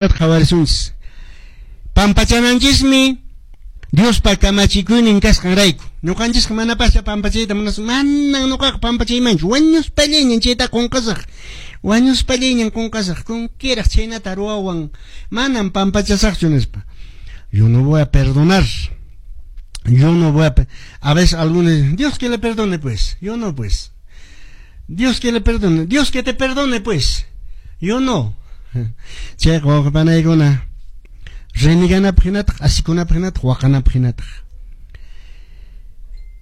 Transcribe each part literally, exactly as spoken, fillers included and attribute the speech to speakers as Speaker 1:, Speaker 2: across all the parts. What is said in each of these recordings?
Speaker 1: Qhawarisunchis. Pampachananchismi Diospa kamachikuynin kasqanrayku. Ñuqanchisqa manapascha pampachayta munasun. Manan ñuqaqa pampachaymanchu. Wañuspallayñan chayta qunqasaq. Wañuspallayñan qunqasaq. Kunkiraq chhaynata ruwawan. Manan pampachasaqchu nispa. Yo no voy a perdonar. Yo no voy a... A veces algunos... Dios que le perdone pues. Yo no pues. Dios que le perdone. Dios que te perdone pues. Yo no. Chayqa wawqipanaykuna reniganapaq hinataq asikunapaq hinataq waqanapaq hinataq.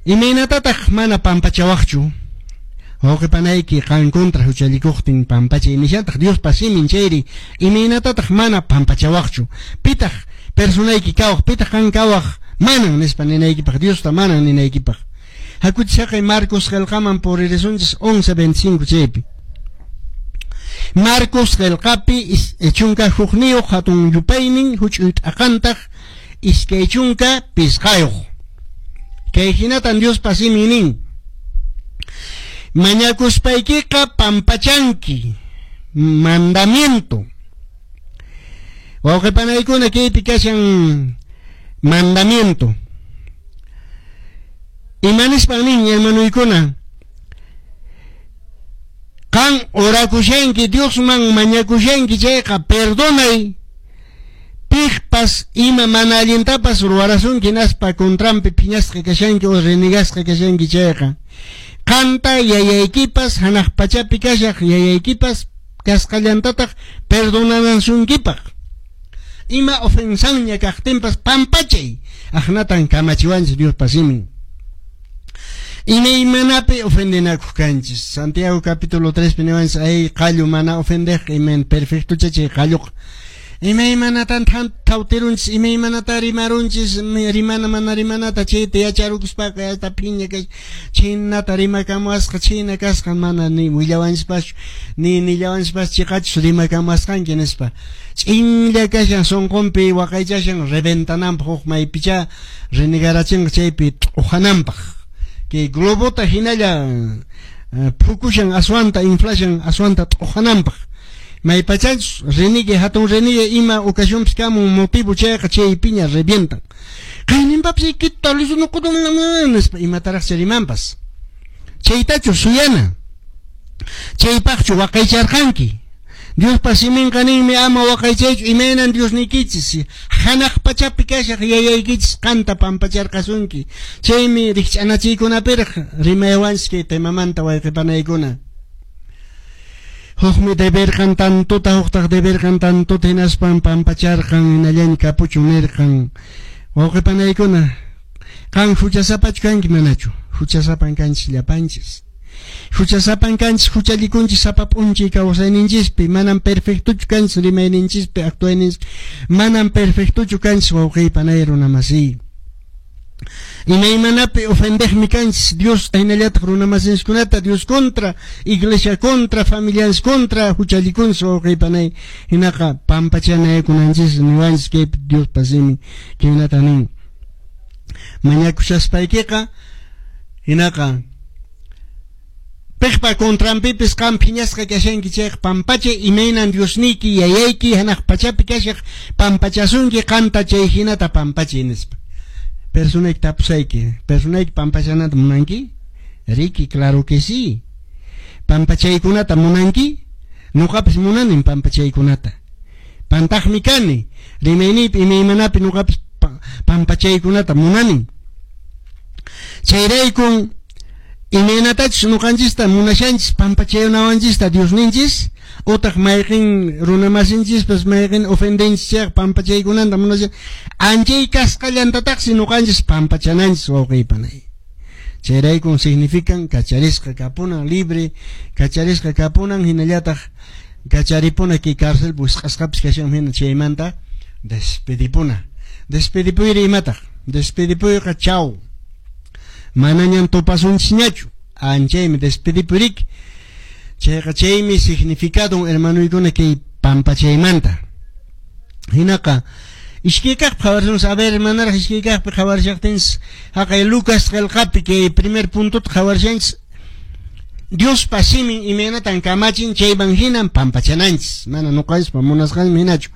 Speaker 1: Imaynatataq mana pampachawaqchu wawqipanayki qan contra huchallikuqtin pampachay nishantaq Diospa simin chayri imaynatataq mana pampachawaqchu pitaq personayki kawaq pitaq qan kawaq manan nispa ninaykipaq Diosta manan ninaykipaq. Hakuchis haqay Marcos qillqaman puririsunchis once veinticinco chaypi. Marcos qillqapi chunka hukniyuq hatun yupaynin huch'uy t'aqantaq iskay chunka pisqayuq. Kay hinatan Diospa simin nin. Mañakuspaykiqa pampachanki. Mandamiento. Wawqipanaykuna kaypi kashan mandamiento. Imanispan nin hermanuykuna. Qan orakushanki Diosman mañakushanki chayqa perdonay piqpas ima mana allintapas ruwarasunki naspa contranpi phiñasqa kashanki o renegasqa kashanki chayqa qanta yayaykipas hanaq pachapi kashaq yayaykipas kasqallantataq perdonanasunkipaq ima ofensanña kaqtinpas pampachay aqnatan kamachiwanchis Diospa simin. Imaymanapi ofendenakuq kanchis. Santiago capítulo tres niwanchis ay qallu mana ofendeq iman perfectocha chay qalluqa. Imaymanatan thawtirunchis imaymanata rimarunchis rimana mana rimanata chayta yacharukuspaqa yasta phiña kash chhaynata rimakamuwasqa chhayna kasqa mana ni willawanchispaschu ni nillawanchishpas chiqachus rimakamuwasqanki nispa. Ch'inlla kashan sunqunpi waqaychashan reventananpaq huk maypicha renegarachinqa chaypi t'uhananpaq. Que globota hinalla phukushan aswanta inflashan aswanta t'uhananpaq. Maypachachus renigue hatun renigue ima ocasionpis kamun motivo chayqa chaypiña revientan. Qayninpapis kita nispa imataraqcha rimanpas. Chaytachu suyana. Chaypaqchu waqaycharqanki. Diospa siminqa ninmi ama waqaychaychu imaynan Diosniykichis hanaq pachapi kashaq yayaykichis qanta pampacharqasunki. Chaymi rikch'anachiykunapiraq rimaywanchis kay temamanta wayqipanaykuna. Hukmi deberqan tantuta huktaq deberqan tantuta hinaspan pampacharqan hinallaña kapuchun nirqan. Wawqipanaykuna qan huchasapachu kanki manachu? Huchasapan kanchis llapanchis. Huchasapan kanchis huchallikunchis sapa p'unchay kawsayninchispi manam perfectochu kanchis rimayninchispi actuayninchispi manam perfectochu kanchis wawqiypanay runamasiy. Imaymanapi ofendeqmi kanchis Dios hinallataq runamasinchiskunata Dios contra, iglesia contra, familianchis contra huchallikunchis wawqiypanay hinaqa pampachanaykunanchis niwanchis kaypi Diospa simin khaynata nin. Mañakushaspaykiqa hinaqa piqpa contranpipis qan phiñasqa kashanki chayqa pampachay imaynan Diosniyki yayayki hanaq pachapi kashaq pampachasunki qanta chay hinata pampachay nispa. Personayki tapusayki, personayki pampachanata munanki? Riki, claro que sí. Pampachaykunata munanki? Ñuqapis munanin pampachaykunata. Pantaqmi kani, rimayniypi imaymanapi ñuqapis pampachaykunata munanin. Chayraykun imaynatachus ñuqanchista munashanchis pampachayunawanchista Diosninchis utaq mayqin runamasinchispas mayqin ofendenchis chayqa pampachaykunanta munashan anchay kasqallantataqsi ñuqanchis pampachananchis wawqiypanay. Chayraykun significan kacharisqa kapunan libre kacharisqa kapunan hinallataq kacharipuna kay cárcel wisq'asqapis kashan hina chaymanta despedipuna. Despedipuyri imataq? Despedipuyqa chau. Manañan tupasunchisñachu anchaymi despedipuriki. Chayqa chaymi significado hermanuykuna kay pampachaymanta. Hinaqa iskay kaqpi qhawarishanchis a ver manaraq iskay kaqpi qhawarishaqtinchis haqay Lucas qillqapi kay primer puntota qhawarishanchis Diospa simin imaynatan kamachin chayman hinan pampachananchis, mana ñuqanchispa munasqanman hinachu.